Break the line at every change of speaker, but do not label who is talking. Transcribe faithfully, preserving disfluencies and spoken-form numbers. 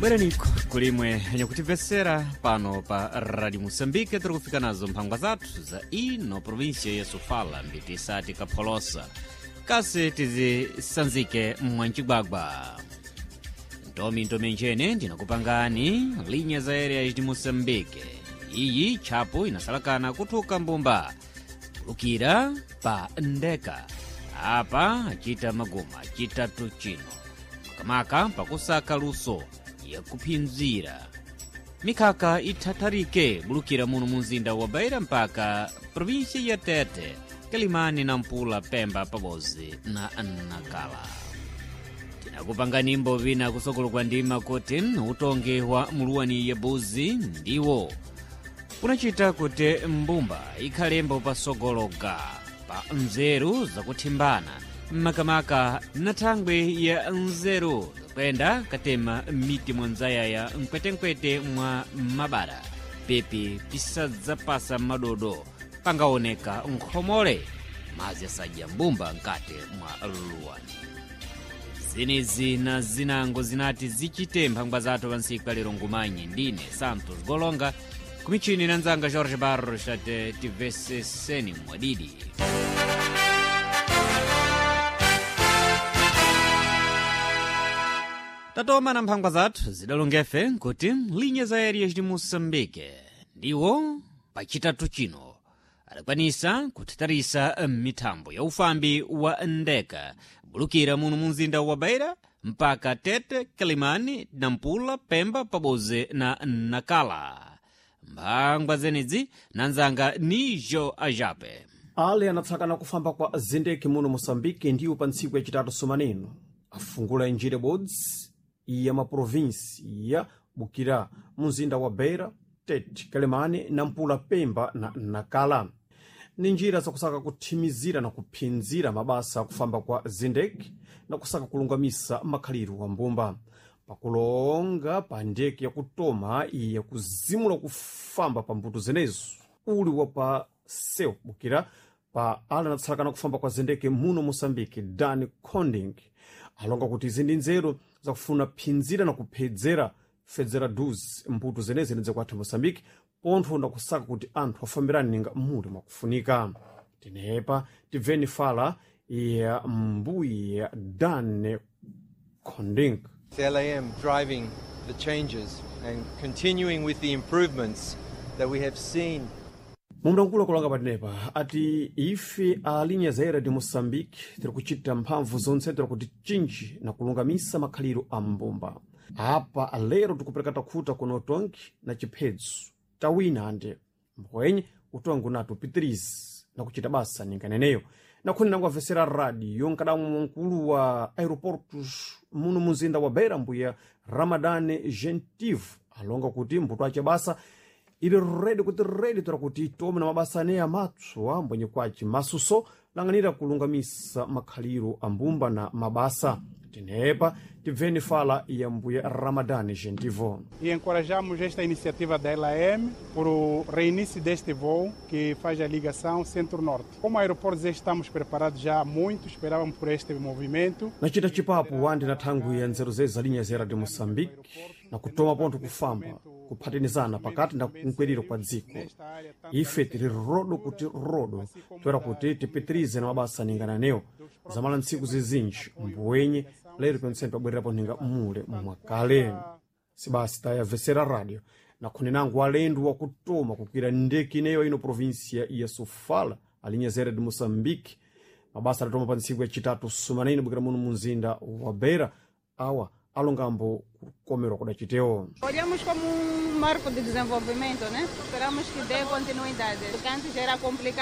Bweraniko kulimwe nyakutimvesera pano pa Radio Moçambique, tiri kufika nazo mphangwa zathu za ino província ya Sofala, mbiti isati kapholosa kasi tizisanzike mwancigwagwa ntomi ntomi njene ndinakupangani linha za area de Moçambique. Iyi tchapo inasalakana kuthuka mbumba kulukira pa ndeka apa acita maguma acitatu chino makamaka pakusaka luso yakuphinzira mikhaka ithatharike bulukira muno mu mzinda wa Beira mpaka província ya Tete, Kalimani na Mpula, Pemba pabodzi na Nakala. Tinakupangani vina kusokolo kwa ndima kuti utongi wa muluwani ya buzi ndiwo unachita kuti mbumba ikhalembo pasogologa pa nzeru zakuthimbana makamaka na thangwi ya nzeru zakwenda katema miti mwanzayaya mkwetenkwete mwa mabara pepi pisadzapasa madodo pangaoneka nkhomole mazi asadya mbumba nkati mwa luwani. Zenezi na zinango zinati zichite mphangwa zathu pa ntsiku ya lero. Ngumanyi ndine Santos Golonga, kumichini na nzanga Jorge Barros, tate tiveseseni mwadidi. Tatoma na mphangwa zathu zidalongefe nkuti linha za aéreas de Moçambique ndiwo pachitatu chino adakwanisa kuthatharisa mithambo ya ufambi wa ndeka bulukira muno mu mzinda wa Beira mpaka Tete, Kalimani, Nampula, Pemba pabodzi na Nakala. Mphangwa zenedzi nanzanga Nijo Ajape.
Ale anatsakana kufamba kwa zindeki muno Moçambique ndiwo pa ntsiku yacitatu somaneno afungula njira ibodzi ya maprovinsi ya Bukira, mzinda wa Beira, Tete, Kalemani, Nampula, Pemba na Nakala. Ni njira zakusaka kuthimizira na kuphinzira mabasa akufamba kwa zindeki na kusaka kulungamisa makhaliro wa mbumba pakulonga pa ndeke yakutoma iya kuzimula kufamba pa mbuto zenezo uli wa pa seu bukira pa ala anatsalakana kufamba kwa zindeke muno Moçambique, Dan Conding alonga kuti izi ndi nzeru zakufuna phinzira na kuphedzera fedzera dus mbuto zenezi ndidzakwatha Moçambique pontho na kusaka kuti anthu afambirane ninga muli mwakufunika. Tinepa tibveni fala ya mbuya Dan Conding.
L A M driving the changes and continuing with the improvements that we have seen.
Mumdankulo kulanga patinepa ati ife a linha zaira de Moçambique tiri kuchita mphamvu zonse tiri kuti chinji na kulungamisa makhaliro a mbumba. Apa lero tikupereka takhuta kuno utongi na chiphedzo tawina ande mbwenye utongi unati upitirize na kuchita basa ninganeneyo. Nakhuni nangwavesera radio nkadamwe mkulu wa aeroportos muno muzinda wa Beira, mbuya Ramadane Gentive, alonga kuti mbuto ache basa ili redi kuti redi tora kuti tome na mabasa aneya matswa mbwenye kwaci masuso lang'anira kulungamisa makhaliro a mbumba na mabasa. Tinepa tibveni fala ya mbuya Ramadane Gentivo.
E encorajamos esta iniciativa da L A M por o reinício deste voo que faz a ligação Centro-Norte. Como aeroportos estamos preparados já há muito, esperávamos por este movimento.
Nachita chipapo wandi na thangwi ya nzeru zezi za linha zera de Moçambique na kutoma pontho kufamba kuphatinizana pakati na kunkwiriro kwa dziko. Ife tili rodo kuti rodo toera kuti tipitirize na mabasa ningananewo zamala ntsiku zizinji mbwenye lero pentsene pabwererapo ninga mule mwakale. Sibasi tayavesera radio nakhuni nangu alendo wakutoma kukwira ndeke ineyo ino província ya Sofala a Linha Aérea de Moçambique mabasa adatoma pa ntsiku yacitatu sumanene bukira muno munzinda wa Beira awa alongambo kukomerwa kudacitewo.
Olhamos como um marco de desenvolvimento, né? Esperamos que dê continuidade, porque antes era complicado.